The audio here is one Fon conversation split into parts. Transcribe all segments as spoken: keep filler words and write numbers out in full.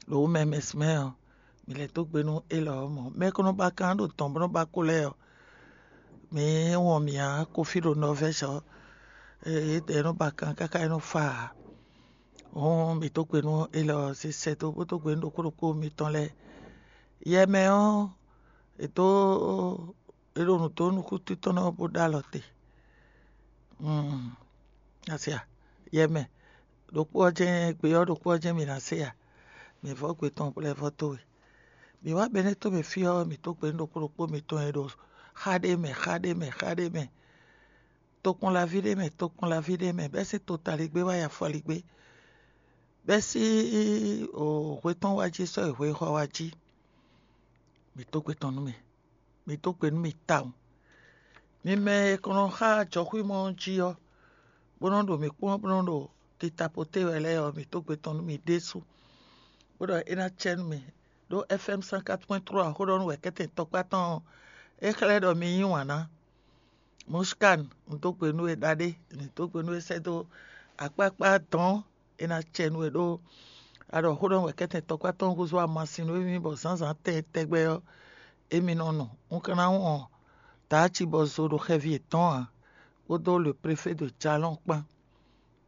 ɖo wǔ mɛ mɛ sin mɛ ɔ́, mǐ lɛ́ dó gbe nú élɔ́ ɔ́ mɔ̌. Mɛ e ko nɔ ba kan ɖo dɔ̌n bó nɔ́ ba kó lɛ́ɛ ɔ́, mǐ wɔn mǐ ǎ. Kofí ɖo Nɔvɛ́si ɔ́, étɛ́ e nɔ ba kan káká é nɔ fa ǎ. Hǔn mǐ dó gbe nú élɔ́ ɔ́ sísɛ́ dó bó dó gbe nú ɖokpó ɖokpó mitɔn lɛ́ɛ. Yɛ mɛ ɔ́, è dó è ɖo nǔ dó nukúntɔ́ tɔn ɔ́ bó ɖó alɔ te. Asia, yɛ mɛ ɖokpó ɔ́ jɛ́n gbe ɔ́ ɖokpó ɔ́ jɛ́n mǐ ná se a? Mǐ vɔ́ gbe tɔn lɛ́ vɔ́ dó we. Mǐ wá Benɛ́to mɛ fí ɔ́, mǐ dó gbe nú ɖokpó ɖokpó mitɔn e ɖo xá ɖé mɛ, xá ɖé mɛ, xá ɖé mɛ, tokpɔnlaví ɖé mɛ, tokpɔnlaví ɖé mɛ, bɛ́ sín totaligbé wá yi afɔligbé, bɛ́ sín hwe tɔn wá jí sɔ́ yi hwexɔ wá jí. Mǐ dó gbe tɔn nú mì, mǐ dó gbe nú mì tawun. Mi mɛ e kɔn nɔ xá jɔxwímɔ ɔ́ jí ɔ́, bó nɔ́ ɖo mǐ kpɔ́n bó nɔ́ ɖo titapoté wɛ lɛ́ɛ ɔ́, mǐ dó gbe tɔn nú mi ɖésú, bó ɖɔ é ná cɛ nú mi. Ɖó F M cent quatre point trois xó ɖɔ nú wɛ̌kɛ́tɛn tɔkpá tɔn ɔ́, é xlɛ́ ɖɔ mi yí wǎn ná. Mushkan, un dó gbe nú we ɖaɖé, mǐ dó gbe nú we sɛ́ dó akpákpá dɔ̌n, é ná cɛ nú we ɖó a ɖɔ xó ɖɔ wɛ̌kɛ́tɛn tɔkpá tɔn húzú amasin nú émí bɔ zǎnzǎn tɛn tɛgbɛ ɔ́, émí nɔ nu. Un ka ná wɔn Daaci bɔ zo ɖo xɛvi yětɔn ǎ, kpódó le préfé de Jalɔ́n kpán.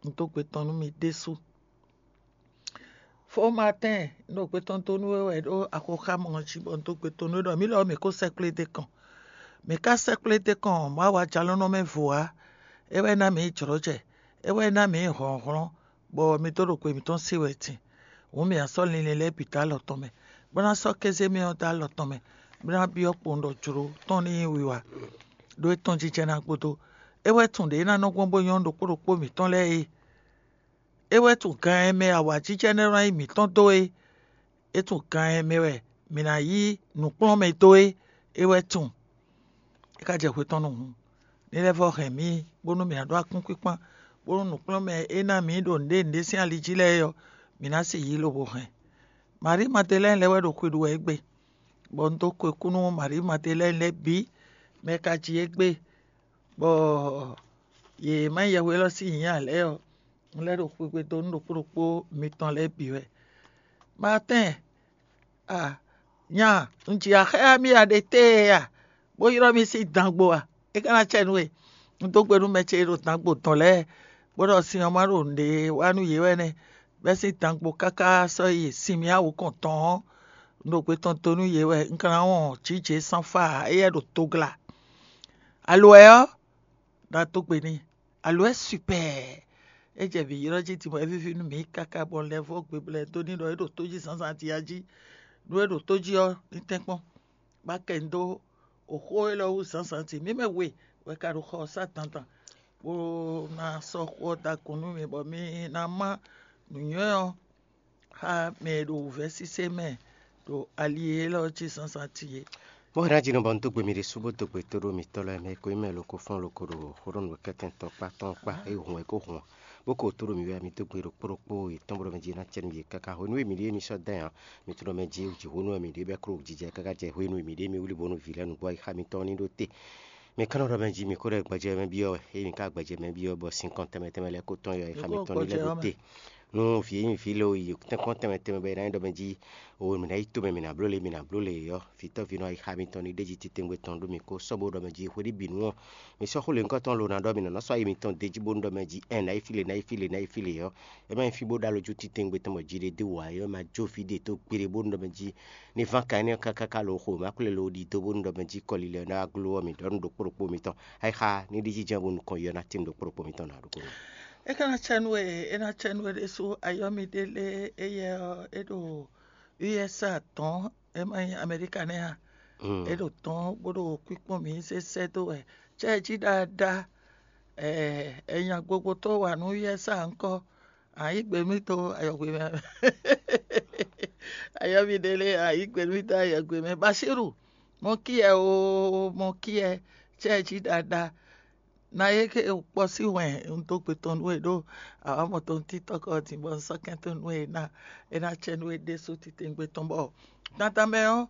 Un dó gbe tɔn nú mi ɖésú. Fó Maatɛ́n, un ɖo gbe tɔn dó nú we wɛ ɖó axoxámɔ ɔ́ jí bɔ un dó gbe tɔn nú we ɖɔ mǐ lɔ mǐ ko sɛkplé d'é kɔn. Mǐ ka sɛkplé d'é kɔn Mawu ajalɔ́nɔ mɛ vo ǎ. É wɛ ná mǐ yi jlɔ̌jɛ, é wɛ ná mǐ yi hlɔ̌nhlɔ́n, bɔ mi dó ɖo gbe mǐtɔn se wɛ din. Hǔn mǐ ná sɔ́ linlin lɛ́ɛ bǐ dó alɔ tɔn mɛ, bó ná sɔ́ kéze mɛ ɔ́ dó alɔ tɔn mɛ, bó ná byɔ́ kpowun ɖɔ jlǒ tɔn ní nyí wiwa, ɖó é tɔn jijɛ ná gúdo. É wɛ tunwun ɖě é ná nɔ gbɔn bó nyɔ́ ɖokpó ɖokpó mǐtɔn lɛ́ɛ é. É wɛ tunwun gan e mɛ awǎjijɛ nɛ́ nɔ nyí mǐtɔn dó é. É tunwun gan e mɛ wɛ mǐ ná yí nǔkplɔ́nmɛ dó é. É wɛ tunwun. É ka jɛ hwe tɔn nu hǔn, ní lɛ́ vɔ́ hɛn mǐ, bónú mǐ ná ɖó akúnkúnkpán, bónú nǔkplɔ́nmɛ e ná mǐ ɖo nǔɖé nǔɖé sín ali jí lɛ́ɛ é ɔ́, mǐ ná si yí lobo hɛn. Marí Madelɛ́ni lɛ́ɛ wɛ ɖo xwe ɖu wɛ égbé, bɔ un dó ko kú nú Marí Madelɛ́ni lɛ́ɛ bǐ, mɛ e ka ji égbé, bɔ yě má nyí yɛhweylɔ́ sín nyǐ ǎ lɛ́ɛ ɔ́, un lɛ́ ɖo xwegbe dó nú ɖokpó ɖokpó mitɔn lɛ́ɛ bǐ wɛ. Maatɛ́n, a nya, un ji axáya mì a ɖe tée a, bó ylɔ́ mì sín dangbo a? É ka ná cɛ nú we. Un dó gbe nú mɛ ce e ɖo dangbo dɔn lɛ́ɛ, bó ɖɔ sin ɔ́ ma ɖo nǔɖé wa nú yě wɛ nɛ́, bɛ́ sín dangbo káká sɔ́ yi sin mì awu kɔn tɔn ɔ́, un ɖo gbe tɔn dó nú yě wɛ. Un ka ná wɔn jǐ jě sánfá ǎ, éyɛ́ ɖo togla. Alo wɛ ɔ́, ná dó gbe n'i. Alo wɛ sipɛɛ. É jɛ mǐ ylɔ́ jí din bɔ é víví nú mǐ káká bɔ un lɛ́ vɔ́ gbeblɛ́ dó ní ɖɔ é ɖo tó jí zǎnzǎn din a jí. Nú é ɖo tó jí ɔ́, ní tɛ́nkpɔ́n. Bá kɛ un dó oxó élɔ́ wú zǎnzǎn din. Mǐ mɛ we wɛ ka ɖo xɔ ɔ́ sá dandan, bó ná sɔ́ xó ɔ́ da kɔn nú mi, bɔ mi ná má nǔnywɛ́ ɔ́ xá mɛ e ɖo wǔvɛ́ sísé mɛ ɖo ali élɔ́ jí zǎnzǎn din é. Mɔ̌ hɛn ná jí nɔ bɔ un dó gbe mi ɖésú bó dó gbe tó ɖó mitɔ́ lɛ́ɛ mɛ e ko nyí mɛ loko fɔ́n loko ɖo xóɖɔnú wɛ kɛ́tɛn tɔn kpá tɔn kpá é hun wɛ é ko hun ɔ́, bó ko tó ɖo mi wɛ mi dó gbe ɖokpó ɖokpó yětɔn bó ɖɔ mɛ jí ná cɛ nú yě káká hwenu e mǐ ɖíe mi sɔ́ dán ɛ ɔ́, mi tunɔ mɛ jí jǐxónú wɛ mǐ ɖe bɔ é klo jijɛ káká jɛ hwenu e mǐ ɖe mi wlí bónú vǐ lɛ́ɛ nǔgbó ayixa mitɔn ní ɖó te. Mi ka nɔ ɖɔ mɛ jí mi ko ɖɔ gbɛjɛ mɛ byɔ́ wɛ, ényí mi ka gbɛjɛ mɛ byɔ́ bɔ sinkɔn tɛnmɛ tɛnmɛ lɛ́ɛ ko tɔn yɔ ayixa mitɔn ní lɛ́ ɖó te. Nú vǐ e nyí vǐ lo yi tɛ́nkpɔ́n tɛnmɛ tɛnmɛ bɔ è nǎ nyí ɖɔ mɛ jí o mǐ ná yi tomɛ mǐ ná bló le mǐ ná bló le ɔ́, vǐtɔ́ví nɔ ayixa mitɔn ní ɖ'é jí titewungbe tɔn ɖó mi kó sɔ́ bó ɖɔ mɛ jí hweɖíbǐnu ɔ́, mi sɔ́ xó lěhunkɔtɔn lo ná ɖɔ mi nɔ nɔ́ sɔ́ ayi mitɔn d'é jí bónú ɖɔ mɛ jí ɛn nǎ yi fí le nǎ yi fí le nǎ yi fí le ɔ́, é má nyí fí bó ɖó alɔ jú titewungbe tɔn bɔ jí ɖé dó wǎ é ɔ́, ma jó fí ɖé tó gbeɖé bónú ɖɔ mɛ jí ní ván ka énɛ́ ɔ́ káká lo xo má kplé lo ɖi dó bónú ɖɔ mɛ jí kɔlilɛ ɔ́ ná wá gló ɔ́, mi ɖɔ nú ɖokpó ɖokpó mitɔn. Ayixa ní ɖi jínjɔ́n bónú kɔn yɔ ná tín ɖokpó ɖokpó mitɔn ná ɖokpó ɖokpó. É ka ná cɛ nú we, é ná cɛ nú we ɖésú ayɔ́míɖé lé éyɛ́ ɔ́, é ɖo U S A tɔn, é má nyí Amɛríka nɛ́ a? É ɖo tɔn bó ɖo kwíkpɔ́n mǐ sésɛ́ dó wɛ. Cɛ́ jí ɖaɖa, ɛɛ, nya gbogbotɔ́ wa nú U S A ŋkɔ, a yǐ gbe mì dó ayɔgbe mɛ. Ayɔ́míɖé lé, a yǐ gbe mì dó ayɔgbe mɛ. Baṣíru, mɔ kí ɛ o, mɔ kí ɛ, cɛ́ jí ɖaɖa. Na é ké kpɔ́ sí wɛn un dó gbe tɔn nú we ɖó awǎmɔ tɔn títɔ́ kɔ din bɔ un sɔ́ kɛn tɔn nú we ná é ná cɛ nú we ɖésú titewungbe tɔn bɔ dandan mɛ ɔ́,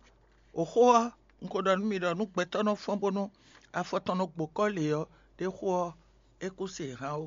oxó ɔ́, un ko ɖɔ nú mi ɖɔ nú gbɛtɔ́ nɔ fɔ́n bónú afɔ tɔn nɔ gbo kɔ́ lě ɔ́, ɖé xó ɔ́, é kú se hán ó.